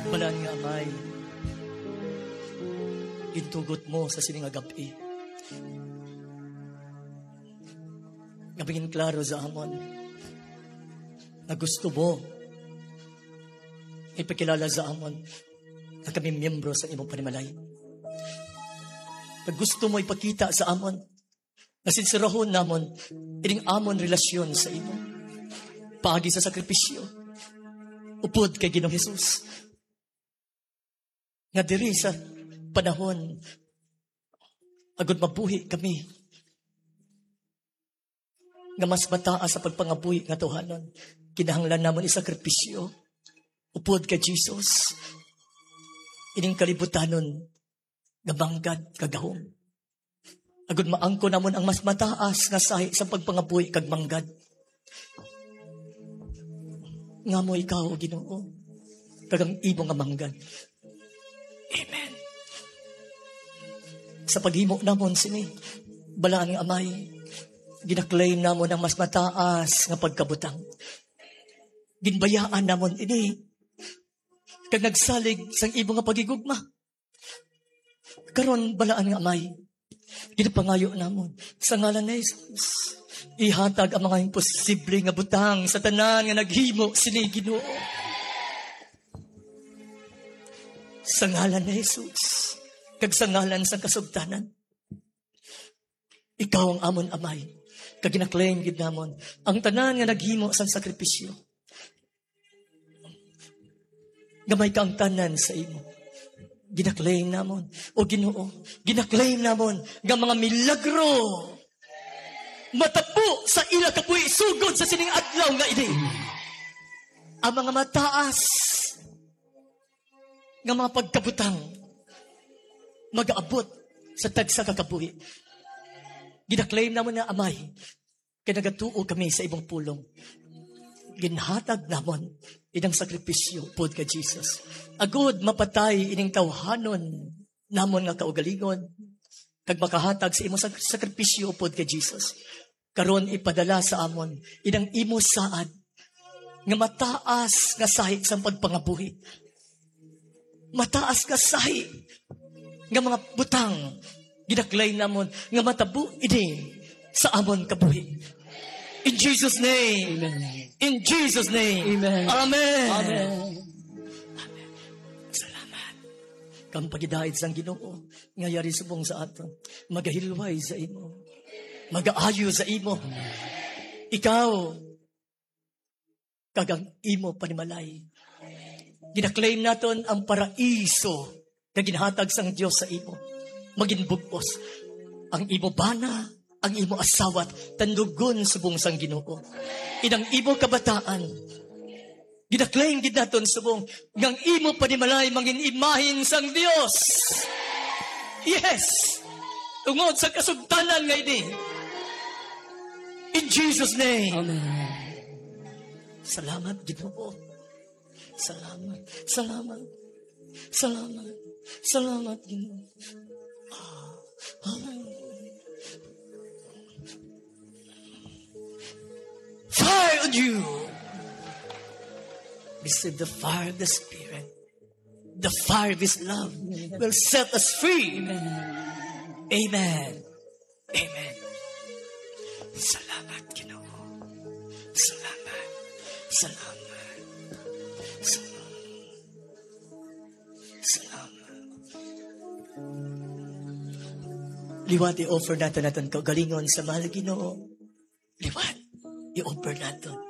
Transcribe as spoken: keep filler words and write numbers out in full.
Balaan nga Amay, gintugot mo sa sini nga gab-i nga mangin klaro sa amon nga gusto mo ipakilala sa amon nga kami miyembro sa imong panimalay. Nga gusto mo ipakita sa amon nga sinserahon namon ining amon relasyon sa imo paagi sa sakripisyo upod kay Ginoong Jesus. Nga diri sa panahon agud mabuhi kami nga mas mataas sa pagpangabuhi nga tawhanon, kinahanglan namon isakripisyo upod kay Jesus ining kalibutanon nga manggad kagahom. Agud maangkon namon ang mas mataas nga sahi sa pagpangabuhi kag manggad. Nga mo ikaw, Ginoo, kag ang imo nga manggad. Amen. Sa paghimo namon sini, balaan nga Amay, ginaklaim namon ang mas mataas nga pagkabutang. Ginbayaan namon ini, kag nagsalig sang imo nga paghigugma. Karon, balaan nga Amay, ginapangayo namon sa ngalan ni Jesus, ihatag ang mga imposible nga butang sa tanan nga naghimo sini, Ginoo. Sa ngalan ni Jesus, kag sa ngalan sang kasugtanan, ikaw ang amon Amay, kag ginaklaim gid namon ang tanan nga naghimo sang sakripisyo nga may kaangtanan sa imo. Ginaklaim namon, o Ginoo, ginaklaim namon nga mga milagro matabo sa ila kabuhi sugod sa sining adlaw nga ini. Ang mga mataas nga mga pagkabutang magaabot sa tagsa ka kabuhi. Ginaklaim namon nga Amay, kay nagatuo kami sa imong pulong. Ginhatag namon inang sakripisyo pod kay Jesus, agud mapatay ining tawhanon namon nga kaugalingon, kag makahatag sa imo sak-, sakripisyo upod kay Jesus. Karon ipadala sa amon inang imo saad nga mataas nga sahi sang pagpangabuhi. Mataas nga sahi nga mga butang ginaklaim namon nga matabo ini sa amon kabuhi. In Jesus' name. Amen. In Jesus' name. Amen. Amen. Amen. Salamat. Kang pagidait sang Ginoo nga yari subong sa aton. Magahilway sa imo. Magaayo sa imo. Ikaw, kag ang imo panimalay. Ginaklaim naton ang paraiso nga ginhatag sang Dios sa imo. Magin bug-os ang imo bana, ang imo asawa, tandugon subong sang Ginoo. Inang imo kabataan, ginaklaim gid naton subong nga ang imo panimalay mangin imahin sang Dios. Yes! Tungod sa kasugtanan nga ini. In Jesus' name. Amen. Salamat, Ginoo. Salamat. Salamat. Salamat. Salamat, Ginoo. Ah, amen. Fire on you. Receive the fire of the Spirit. The fire of His love will set us free. Amen. Amen. Amen. Salamat, Ginoo. Salamat. Salamat. Salamat. Salamat. Liwat i-offer naton aton kaugalingon sa mahal nga Ginoo. Liwat i-offer naton.